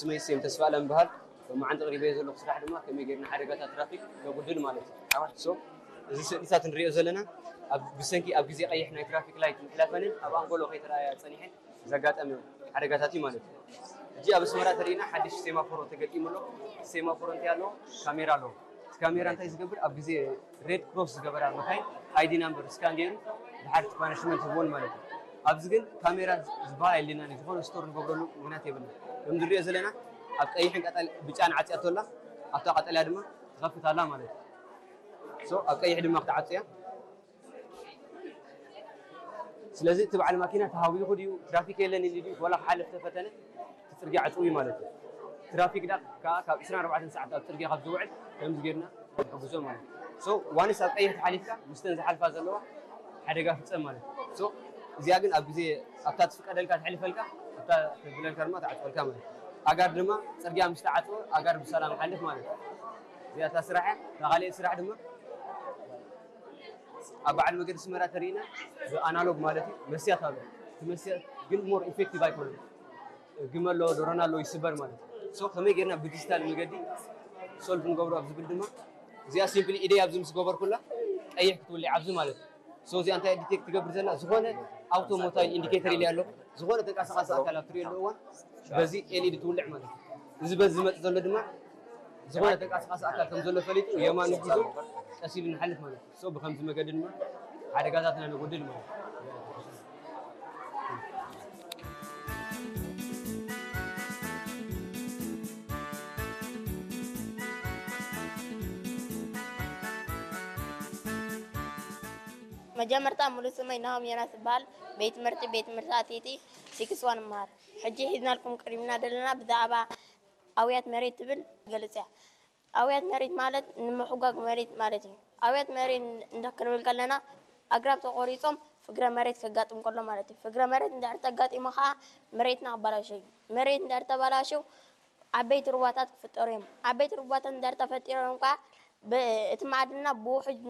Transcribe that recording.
ስመይ ስም ተስፋ ኣለም በሃል። መዓንተ ቅሪበ ዘለኹ ስራሕ ድማ ከመይ ጌርና ሓደጋታት ትራፊክ ነጉድል ማለት እዩ። ሶ እዚ ስእልታት ንሪኦ ዘለና ኣብ ብሰንኪ ኣብ ግዜ ቀይሕ ናይ ትራፊክ ላይት ምሕላፈንን ኣብ ኣንጎሎ ከይተረኣያ ጸኒሐን ዘጋጠመ ሓደጋታት እዩ ማለት እዩ። እጂ ኣብ ኣስመራ ተሪእና ሓድሽ ሴማፎሮ ተገጢሙ ኣሎ። ሴማፎሮ እንታይ ኣለዎ? ካሜራ ኣለዎ። እቲ ካሜራ እንታይ ዝገብር? ኣብ ግዜ ሬድ ክሮስ ዝገበራ መካይን ኣይዲ ናምበር ስካን ገይሩ ድሓር ፓኒሽመንት ይህቦን ማለት እዩ። ኣብዚ ግን ካሜራ ዝበሃል የለና፣ ዝኾነ ስቶር ንገብረሉ ምክንያት የብልና። ከም ዝሪኦ ዘለና ኣብ ቀይሕን ቀጠል ብጫን ዓፅያ ተላ ኣብታ ቀጠልያ ድማ ትኸፍት ኣላ ማለት እዩ። ሶ ኣብ ቀይሕ ድማ ክትዓፅያ። ስለዚ እቲ በዓል ማኪና ተሃዊኹ ድዩ ትራፊክ የለን ኢሉ ድዩ ወላ ክሓልፍ ተፈተነ እቲ ፅርግያ ዕፅው እዩ ማለት እዩ። ትራፊክ ዳ ከዓ ካብ ዕስራን ኣርባዕተን ሰዓት ኣብ ፅርግያ ካብ ዝውዕል ከምዚ ጌርና ንሕግዞ ማለት እዩ። ሶ ዋንስ ኣብ ቀይሕ ተሓሊፍካ ምስተን ዝሓልፋ ዘለዋ ሓደጋ ፍፀም ማለት እዩ። ሶ እዚኣ ግን ኣብ ግዜ ኣብታ ትፍቀደልካ ትሕልፈልካ ኣብታ ትብለልካ ድማ ትዓፅወልካ ማለት እዩ። ኣጋር ድማ ፅርግያ ምስ ተዓፅወ ኣጋር ብሰላም ሓልፍ ማለት እዩ። እዚኣ እታ ስራሕ እያ። እታ ካልእ ስራሕ ድማ ኣብ በዓል መገዲ ኣስመራ ተሪእና ብኣናሎግ ማለት እዩ መስያት ኣሎ። እቲ መስያት ግን ሞር ኢፌክቲቭ ኣይኮነን። ግመ ኣሎ፣ ዶሮና ኣሎ ይስበር ማለት እዩ። ሶ ከመይ ጌርና ብዲጂታል መገዲ ሶልቭ ንገብሮ ኣብ ዝብል ድማ እዚኣ ሲምፕሊ ኢደይ ኣብዚ ምስ ገበርኩላ ቀይሕ ክትውልዕ ኣብዚ ማለት እዩ። ሶ እዚኣ እንታይ ዲቴክት ትገብር ዘላ? ዝኾነ ኣውቶሞታይል ኢንዲኬተር ኢለ ኣሎ። ዝኾነ ተንቀሳቃሲ ኣካል ኣብ ትሪእሉ እዋን በዚ ኤልኢዲ ትውልዕ ማለት እዩ። እዚ በዚ ዝመጽእ ዘሎ ድማ ዝኾነ ተንቀሳቃሲ ኣካል ከም ዘሎ ፈሊጡ የማን ጉዞ ቀስ ኢሉ ንሓልፍ ማለት እዩ። ሶ ብከምዚ መገዲ ድማ ሓደጋታትና ነጎድል ማለት እዩ። መጀመርታ ሙሉእ ስመይ ናሆም ዮናስ እበሃል። ቤት ትምህርቲ ቤት ትምህርቲ ኣቲቲ ሲክስ ዋን እመሃር። ሕጂ ሒዝናልኩም ቀሪብና ዘለና ብዛዕባ ኣውያት መሬት ትብል ገልጽ እያ። ኣውያት መሬት ማለት ንምሕጓግ መሬት ማለት እዩ። ኣውያት መሬት እንተ ክንብል ከለና ኣግራብ ተቖሪጾም ፍግረ መሬት ከጋጥም ከሎ ማለት እዩ። ፍግረ መሬት እንድሕር ተጋጢሙ ኸዓ መሬትና ክበላሾ እዩ። መሬት እንድሕር ተበላሽው ዓበይቲ ሩባታት ክፍጠሩ እዮም። ዓበይቲ ሩባታት እንድሕር ተፈጢሮም ከዓ እቲ ማዕድንና ብውሑጅ